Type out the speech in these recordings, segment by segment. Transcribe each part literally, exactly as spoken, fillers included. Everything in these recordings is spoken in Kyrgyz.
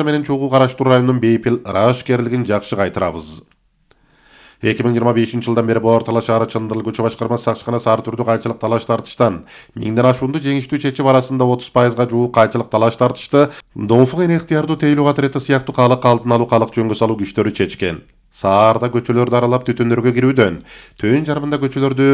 менен чогуу караштыруу районунун бейпил ырашкерлигин жакшы кайтарабыз. эки миң жыйырма бешинчи жылдан бери Боор Тала шаары Чындыл көчө башкармасы сакчыканасы ар түрдүү кайчылык талаш тартыштан миңден ашуунду жеңиштүү чечип арасында отуз пайызга жуук кайчылык талаш тартышты доңфук эне ыктыярдуу тейлөө катарети сыяктуу калык алдын алуу калык жөнгө салуу күчтөрү чечкен. Саарда көчөлөрдү аралап түтүндөргө кирүүдөн төн жарымында көчөлөрдү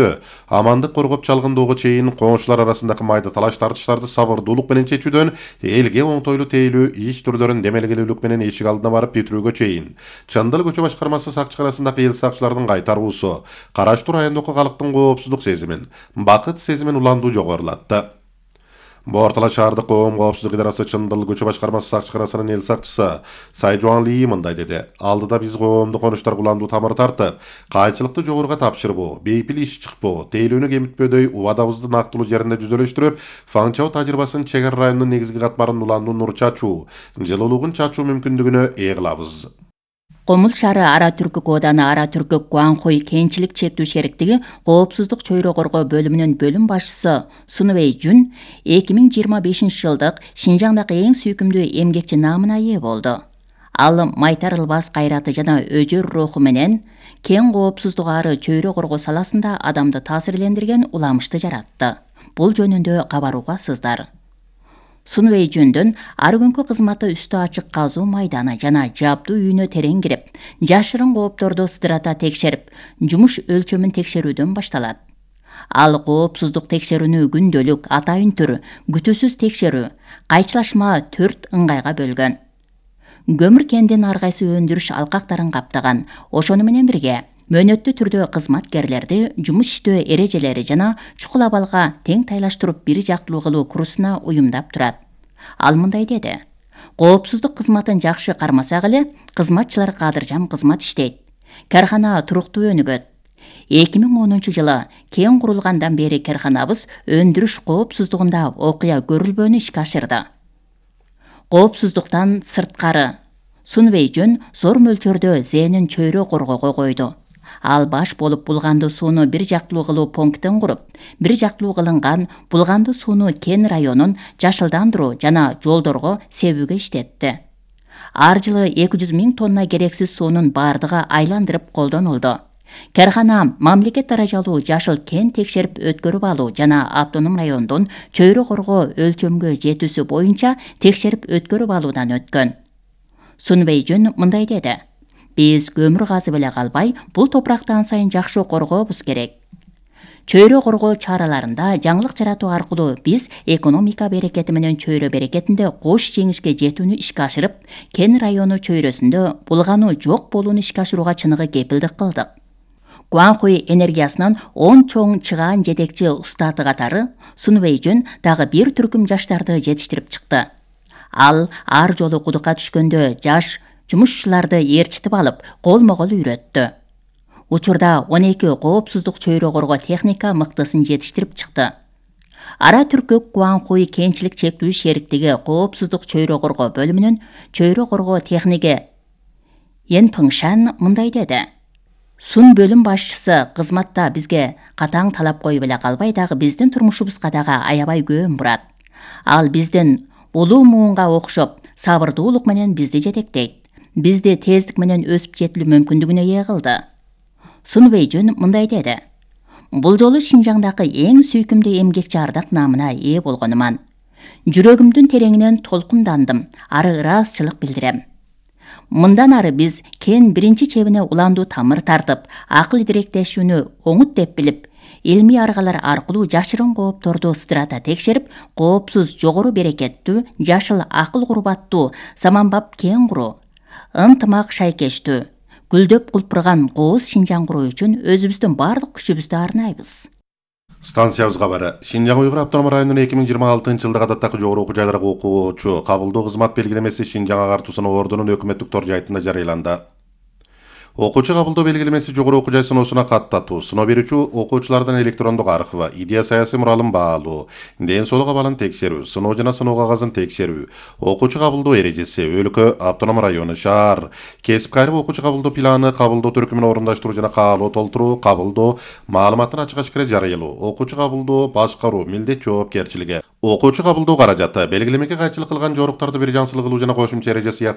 амандык коргоп чалгындоого чейин коңшулар арасындагы майда талаш тартыштарды сабырдуулук менен чечүүдөн элге оңтойлуу тейлүү иш түрлөрүн демелгелүүлүк менен эшик алдына барып бүтүрүүгө чейин Чындыл көчө башкармасы сакчыканасындагы эл сакчылардын кайтаруусу караштуу райондогу калктын коопсуздук сезимин, бакыт сезимин уландуу жогорулатты. Боор Тала шаардык коом коопсуздук идарасы Чындыл көчө башкармасы сакчыканасынын эл сакчысы Сайжуан Ли мындай деди: алдыда биз коомдук конуштарга уландуу тамыр тартып, кайчылыкты жогоруга тапшырбоо, бейпил иш чыкпоо, тейлүүнү кемитпөөдөй убадабызды нактылуу жеринде жүзөлөштүрүп, фаңчоо тажрыйбасын чек ара районунун негизги катмарын уландуу нур чачуу, жылуулугун чачуу мүмкүндүгүнө ээ кылабыз. Комул шаары Ара Түркүк ооданы Ара Түркүк Гуанхуй кенчилик чектүү шериктиги коопсуздук чөйрө коргоо бөлүмүнүн бөлүм башчысы Сунвей Жун эки миң жыйырма бешинчи жылдык Шинжаңдагы эң сүйкүмдүү эмгекчи наамына ээ болду. Ал майтарылбас кайраты жана өжөр руху менен кең коопсуздук ары чөйрө коргоо саласында адамды таасирлендирген уламышты жаратты. Бул жөнүндө кабарууга сыздар. Сунвей Жундун ар күнкү кызматы үстү ачык казуу майданы жана жабдуу үйүнө терең кирип, жашырын коопторду сыдырата текшерип, жумуш өлчөмүн текшерүүдөн башталат. Ал коопсуздук текшерүүнү күндөлүк, атайын түр, күтүүсүз текшерүү, кайчылашма төрт ыңгайга бөлгөн. Көмүр кендин ар кайсы өндүрүш алкактарын каптаган, ошону менен бирге мөөнөттүү түрдө кызматкерлерди жумуш иштөө эрежелери жана чукул абалга тең тайлаштырып бир жактылуу кылуу курсуна уюмдап турат. Ал мындай деди: коопсуздук кызматын жакшы кармасак эле, кызматчылар кадыржан кызмат иштейт. Кархана туруктуу өнүгөт. эки миң онунчу жылы кең курулгандан бери карханабыз өндүрүш коопсуздугунда окуя көрүлбөөнү ишке ашырды. Коопсуздуктан сырткары Сунвей Жун зор мөлчөрдө зээнин чөйрө коргоого койду. Ал баш болуп булгандуу сууну бир жактылуу кылуу пунктин куруп, бир жактылуу кылынган булгандуу сууну кен районун жашылдандыруу жана жолдорго себүүгө иштетти. Ар жылы эки жүз миң тонна керексиз суунун бардыгы айландырып колдонулду. Кархана мамлекет даражалуу жашыл кен текшерип өткөрүп алуу жана автоном райондун чөйрө коргоо өлчөмгө жетүүсү боюнча текшерип өткөрүп алуудан өткөн. Сунвей Жун мындай деди: биз көмүр казып эле калбай, бул топуракты ан сайын жакшы коргообуз керек. Чөйрө коргоо чараларында жаңылык жаратуу аркылуу биз экономика берекети менен чөйрө берекетинде кош жеңишке жетүүнү ишке ашырып, кен району чөйрөсүндө булгануу жок болууну ишке ашырууга чыныгы кепилдик кылдык. Гуанхуй энергиясынын он чоң чыгаан жетекчи устаты катары Сунвей Жун дагы бир түркүм жаштарды жетиштирип чыкты. Ал ар жолу кудукка түшкөндө жаш жумушчуларды ээрчитип алып, колмо-кол үйрөттү. Учурда он эки коопсуздук чөйрө коргоо техника мыктысын жетиштирип чыкты. Ара Түркүк Гуанхуй кенчилик чектүү шериктиги коопсуздук чөйрө коргоо бөлүмүнүн чөйрө коргоо техниги Ен Пыңшан мындай деди: Сун бөлүм башчысы кызматта бизге катаң талап коюп эле калбай, дагы биздин турмушубузга дагы аябай көңүл бурат. Ал биздин улуу муунга окшоп, сабырдуулук менен бизди жетектейт. Бизди тездик менен өсүп жетилүү мүмкүндүгүнө ээ кылды. Сунвей Жун мындай деди: бул жолу Шинжаңдагы эң сүйкүмдүү эмгекчи ардак наамына ээ болгонуман. Жүрөгүмдүн тереңинен толкундандым, ары ыраазычылык билдирем. Мындан ары биз кен биринчи чебине уландуу тамыр тартып, акыл идиректешүүнү оңут деп билип, илмий аргалар аркылуу жашырын коопторду сыдырата текшерип, коопсуз, жогору берекеттүү, жашыл акыл курбаттуу, заманбап кен куруу, ынтымак шайкештүү, гүлдөп кулпурган кооз Шинжаң куруу үчүн өзүбүздүн бардык күчүбүздү арнайбыз. Станциябыз кабары. Шинжаң Уйгур автономдук районунун эки миң жыйырма алтынчы жылдагы адаттагы жогору окуу жайларга окуучу кабылдоо кызмат белгилемеси Шинжаң агартуусунун ордунун өкмөттүк тор жайтында жарыяланды. Окуучу кабылдоо белгилемеси жогору окуу жай сыноосуна каттатуу, сыноо берүүчү окуучулардын электрондук архивы, идея саясий муралын баалоо, ден соолук абалын текшерүү, сыноо жана сыноо кагазын текшерүү, окуучу кабылдоо эрежеси, өлкө, автоном району, шаар, кесипкайлык окуучу кабылдоо планы, кабылдоо түркүмүн орундаштыруу жана каалоо толтуруу, кабылдоо маалыматын ачык ашкара жарыялоо, окуучу кабылдоо башкаруу, милдет жоопкерчилиги, окуучу кабылдоо каражаты, белгилемеге кайчылык кылган жоруктарды бир жансылык кылуу жана кошумча эреже сыяктуу